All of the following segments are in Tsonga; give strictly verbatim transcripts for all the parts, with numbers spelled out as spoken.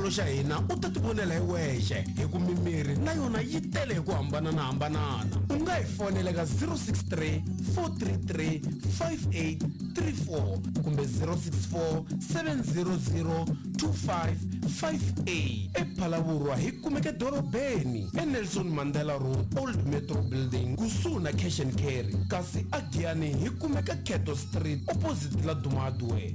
xitolo xa hina u ta tivonela hi wexe hi ku mimirhi na yona yi tele hi ku hambananahambanana. U nga hi fonela ka zero six three four three three five eight three four kumbe zero six four seven zero zero two five five eight. ePhalaborwa hi kumeka dorobeni eNelson Mandela Road, Old Metro Building, kusuhi na Cash and Carry. Kasi aGiyani hi kumeka Keto Street opposite la Duma Hardware.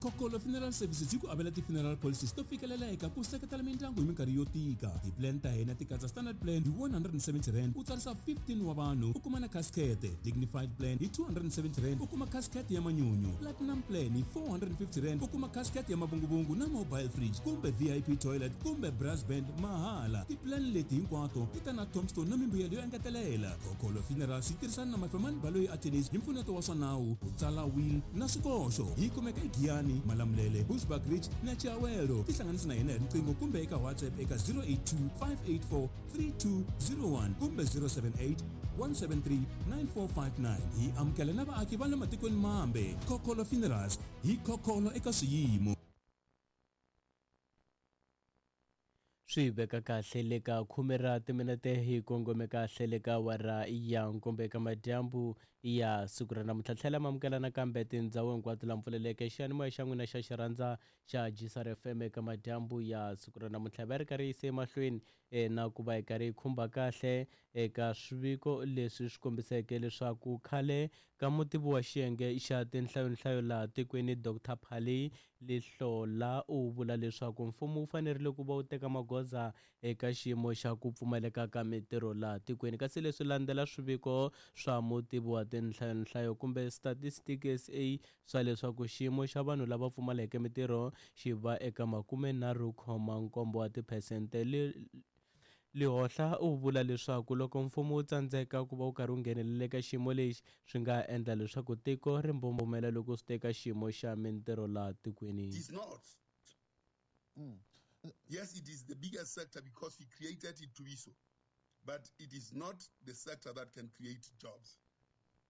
Kokolo Funeral Services yi ku avela ti-funeral policies to fikeleleka ku seketela mindyangu hi minkarhi yo tika. Ti-plan ta hina ti katsa standard plan hi one hundred and seventy rand u tsarisa fifteen wa vanhu u kuma na casket, dignified plan hi two hundred and seventy rand u kuma casket ya manyunyu, platinum plan hi four hundred and fifty rand u kuma casket ya mavunguvungu na mobile fridge kumbe V I P toilet kumbe brass band mahala. Ti-plan leti hinkwato ti ta na tombstone na mimbuyelo yo engetelela. Kokolo Funerals yi tirhisana na Mafemani Baloyi Attorneys hi mpfuneto wa swa nawu, ku tsala will na swikoxo. Yi kumeka eGiyani, Malamulele, Bushbuck Ridge na Chiawelo. Tihlanganisi na hina hi riqingho kumbe eka WhatsApp eka zero eight two five eight four three two zero one kumbe zero seven eight one seven three nine four five nine. Hi amukela na vaaki va le matikweni mambe. Kokolo Funerals, hi kokolo eka swiyimo. Swi veka kahle le ka khume ra timinete hi kongome kahle le ka awara ya nkombo eka madyambu ya siku ra namuntlha. Tlhela mamukela nakambe tindhawu hinkwato la mpfuleleke xiyanimoya xa n'wina xa xirhandza xa G S R F M eka madyambu ya siku ra namuntlha. Va ri karhi yise emahlweni na ku va hi karhi hi khumba kahle eka swiviko leswi swi kombiseke leswaku khale ka mutivi wa xiyenge xa tinhlayonhlayo laha tikweni Doctor Phali Lihlola u vula leswaku mfumo wu fanerile ku va wu teka magoza eka xiyimo xa ku pfumaleka ka mitirho laha tikweni. Kasi leswi landzela swiviko swa mutivi wa tinhlayonhlayo kumbe Statistics S A swa leswaku xiyimo xa vanhu lava pfumaleke mitirho xi va eka makumenharhu khoma nkombo wa tiphesente. Lehohla u vula leswaku loko mfumo wu tsandzeka ku va wu karhi wu nghenelela eka xiyimo lexi swi nga endla leswaku tiko ri mbombomela loko swi teka xiyimo xa mintirho laha tikweni. It is not. Mm. Yes, it is the biggest sector because we created it to be so. But it is not the sector that can create jobs.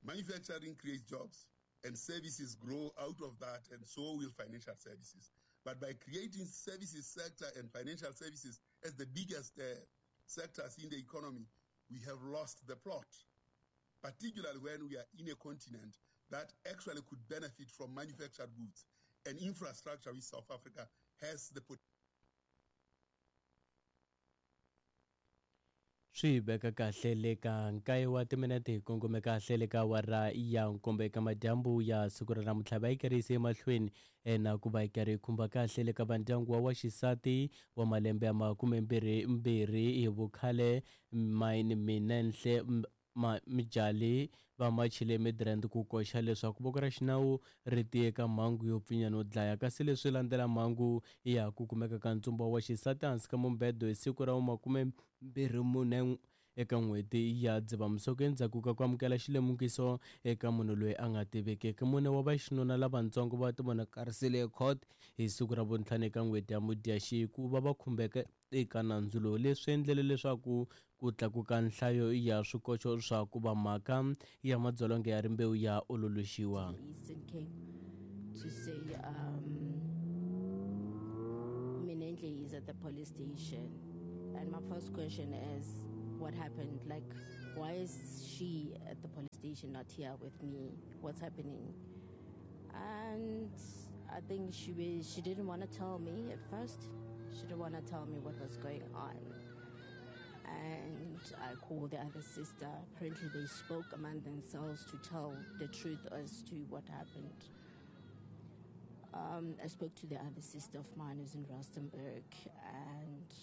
Manufacturing creates jobs and services grow out of that, and so will financial services. But by creating services sector and financial services as the biggest uh, sectors in the economy, we have lost the plot, particularly when we are in a continent that actually could benefit from manufactured goods and infrastructure which South Africa has the potential. Swi veka kahle le ka nkaye wa timinete hi kongome kahle le ka awara ya nkombo eka madyambu ya siku ra namuntlha. Va yi karhi yise emahlweni na ku va yi karhi yi khumba kahle le ka vandyangu wa wa xisati wa malembe ya makumembirhi mbirhi hi vukhale Mine Minenhle Mjali va machile Midrand ku koxa leswaku voko ra xinawu ri tiye ka mhangu yo pfinya no dlaya. Kasi leswi landzela mhangu ya ku kumeka ka ntsumbu wa xisati hansi ka mumbedo hi siku ra makumembirhi mune eka n'hweti ya Dzivamisoko endzhaku ka ku amukela xilemukiso eka munhu loyi a nga tivekeki. Mune wa vaxinuna lavatsongo va tivonakarisile court hi siku ra vuntlhanu eka n'hweti ya Mudyaxihi ku va va khumbeka eka nandzu lowu. Leswi endlele leswaku ku tlakuka nhlayo ya swikoxo swa ku va mhaka ya madzolonga ya rimbewu ya ololoxiwa. Eastern Cape to say um, Minenhle is at the police station, and my first question is, what happened? Like, why is she at the police station, not here with me? What's happening? And I think she was, she didn't want to tell me at first. She didn't want to tell me what was going on. And I called the other sister. Apparently they spoke among themselves to tell the truth as to what happened. Um, I spoke to the other sister of mine who's in Rustenburg, and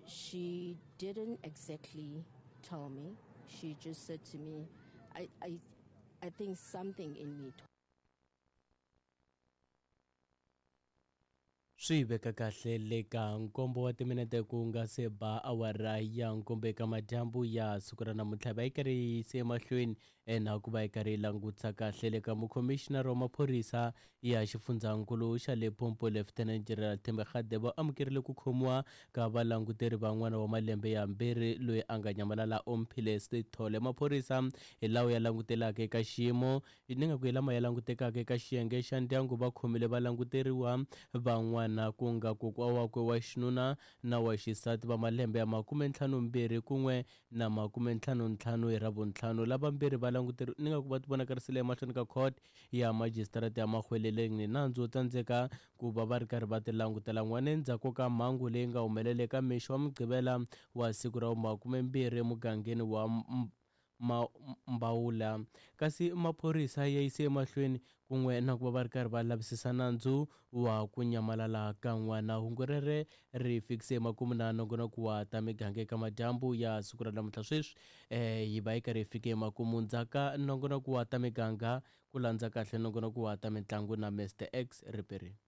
she didn't exactly tell me. She just said to me, I, I, I think something in me. Swi veka kahle le ka nkombo wa timinete ku nga se ba awara ya nkombo eka madyambu ya siku ra namuntlha. Va yi karhi yi yise emahlweni Na ku va hi karhi hi langutisa kahle le ka mukhomixinara wa maphorisa ya xifundzankulu xa Limpopo Lieutenant General Themba Radebe va amukerile ku khomiwa ka valanguteri van'wana wa malembe yambirhi loyi a nga nyamalala Omphile Sithole. Maphorisa hi lawa ya langutelaka eka xiyimo ni nga ku hi lama ya langutekaka eka xiyenge xa ndyangu va khomile valanguteriwa van'wana ku nga kokwa wakwe wa xinuna na wa xisati va malembe ya makumentlhanumbirhi kun'we na makumentlhanuntlhanu hi Ravuntlhanu. Lavambirhi va languteri ni nga ku va tivonakarisile emahlweni ka court ya majisitarata ya Mahweleleng ni nandzu wo tsandzeka ku va va ri karhi va ti langutela n'wana endzhaku ka mhangu leyi nga humelela eka mixo wa Mugqivela wa siku ra makumembirhi emugangeni wa Mbawula. Kasi maphorisa ya yise emahlweni kun'we na ku va va ri karhi va lavisisa nandzu wa ku nyamalala ka n'wana. Hungu rere ri fikise emakumu na nongonoko wa ta miganga eka madyambu ya siku ra namuntlha. Sweswi um hi va yi karhi hi fike emakumu ndzhaka nongonoko wa ta miganga ku landza kahle nongonoko wa ta mitlangu na Mister X Riperini.